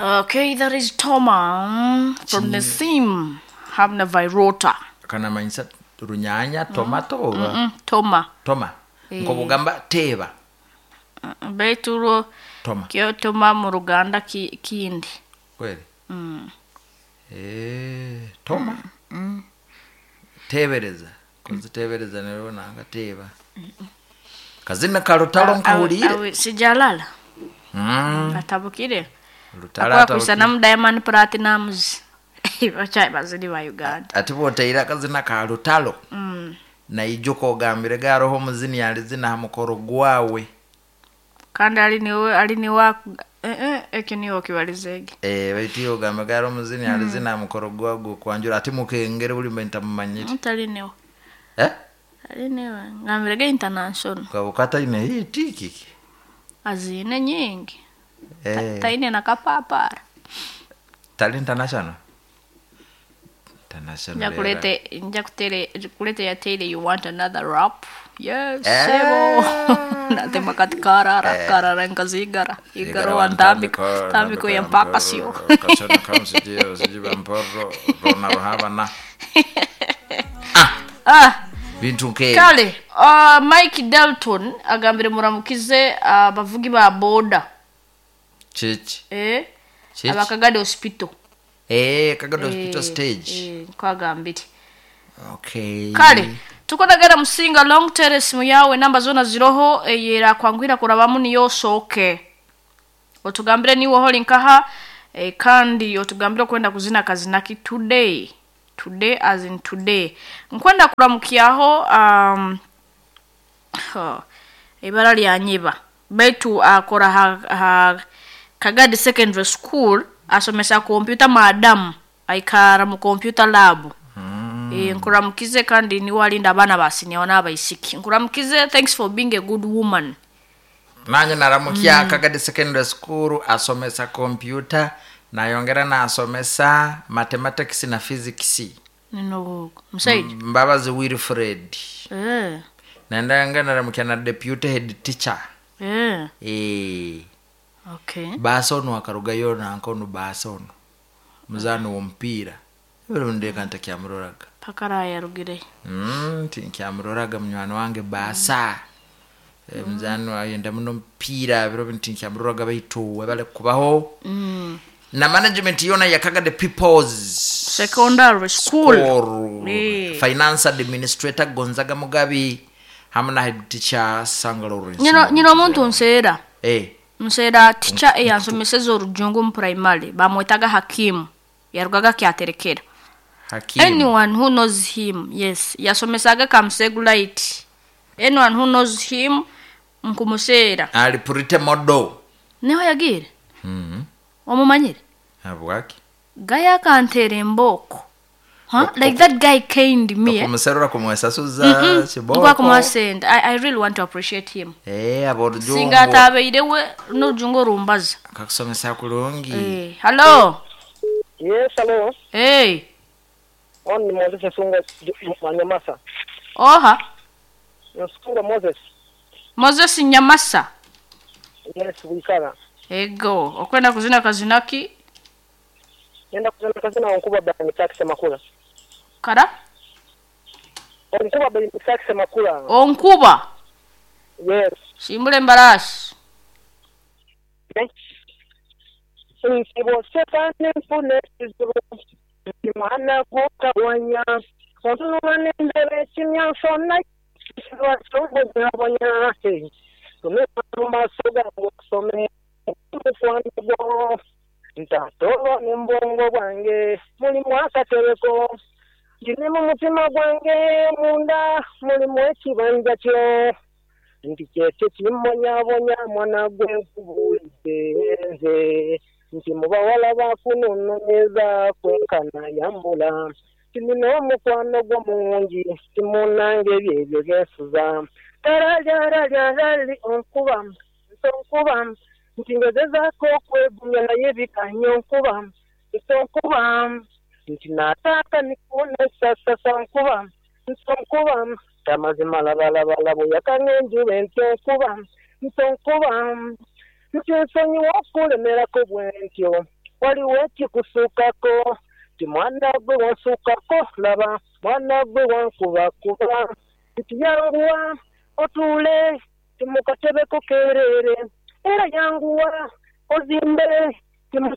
Okay, that is Toma from the same Hamna Virota. Kanamanyisa runyanya tomato oba Toma. Toma. Nkobugamba teeba. Baitu urwo Toma. kyo toma mu Ruganda kindi. Kweli. Toma. Tebereza. Kunzitebereza nero nanga teeba. Kazina kalutalo nkahuliire. Awe sijalala. Atabukire. Lutalo Akwa kuisa atabukire. namu Diamond Platinumz. Bachayi bazini ba Uganda. Ati bwoteire akazina ka lutalo. Naijuka ogambire garoho omuzini yalizina ha mukoro gwawe. Kandi ali niwe ali niwa ekyo niwe okibalizege. Baitu iwe ogambe garoho omuzini yalizina ha mukoro gwawe gw'okwanjura ati mukengere buli mbe ntamumanyire. Tali niwe. Eh? Ali niwe. Ngambire ge international. Kabuka taine hiti kiki. Azine nyingi. Taine na kapapara. Tali international. International. Njakulete njakutere kulete ya tele you want another rap. Yes, Eh. sebo. Natema kati karara karara nkazigara. Igaro antambiko tambiko ya mpaka sio. Kachana kamsijio sijiba mporo rona ruhabana. Ah, Bintu nke. kale Mike Dalton agambire muramukize abavugi ba boda. Chichi. Chichi. Abakagade hospital. Kagado hospital stage. Kwagambire. Okay. Kale tukonagera musinga long terrace muyawe namba zona ziroho eyera kwangwira kurabamu niyo soke otugambire niwe holi nkaha kandi otugambire okwenda kuzina kazinaki today today as in today nkwenda kuramukyaho ibara lya nyiba baitu akora ha Kagadi Secondary School asomesa computer madam aikara mu computer lab. Nkuramukize kandi niwe alinda abaana basinyawo n'abaisiki. Nkuramukize, thanks for being a good woman. Nanye naramukia Kagadi Secondary School asomesa computer nayongera nasomesa mathematics na physics. Nino musaija. Mbabazi Wilfred. Nendanga naramukia na deputy head teacher. Okay. Basono akarugayo nankono basono. Muzano w'omupiira. Ebiro ndeka ntakyamuroraga. Paka rayarugire. Tinkyamuroraga munywani wange basa. Muzano ayenda muno mupiira biro ntinkyamuroraga baitu webale kubaho. Na management yona ya Kagadi People's Secondary School. School. Finance administrator Gonzaga Mugabi hamwe na head teacher Sanga Lawrence. Nyino omuntu nseera. Nseera teacher eyansomeseza orujungu mu primary bamwetaga Hakimu. Yarugaga kyaterekera. Hakimu. Anyone who knows him, yes. Yasomesaga Kamsegu Light. Anyone who knows him nkumuseera. Ali purite modo. Niho yagiire? Omumanyire? Habwaki? Guy akanteera embooko. Huh? Like that guy caned me. Okumuserura kumwesasuza kiboko. Ngwa kumwasenda. I really want to appreciate him. Aborujungu. Singa atabeirewe n'orujungu orumbaza. Akakusomesa kulungi. Hello. Yes, hello. Hey. On ni Moses Nsunga Nyamasa. Oha. Nsunga Moses. Moses Nyamasa. Yes, wikara. Ego, okwenda kuzina kazinaki? Nenda kuzina kazina onkuba ba Misaki Makula. Kara? Onkuba ba Misaki Makula. Onkuba. Yes. Simbule mbarasi. Nsibo sekane mfune izibu. Mwana kukawanya. Ontunula nendebe kimyansona. Siba chombo nyabonya. Tumeka masoga kusome. Mukwano ntatolwa n'embwongo bwange mulimu akatereko ndine mu mutima gwange munda mulimu ekibanja kyo nti kyekyo kimbonyabonya mwana gwe nkubuulidde nze nti mu bawala bakunononyeza kwenkana yambula nti nina omukwano gwo mungi timunnange byebyo byensuza taralyalalyaali onkuba ntonkuba nti ngezezaako okwegumya naye bikanya onkuba ntonkuba nti naataaka nikunesasasa nkuba ntonkuba tamazima labalabalabo yakanga enjuba entyo nkuba ntonkuba nti nsonyiwa okulemerako bwe ntyo Waliwo ekikusukako Nti mwana gwe wansukako Laba mwana gwe wankubakuba Nti yanguwa otuule Nti mu katebe ko keereere Era yanguwa ozimbe Nti mu.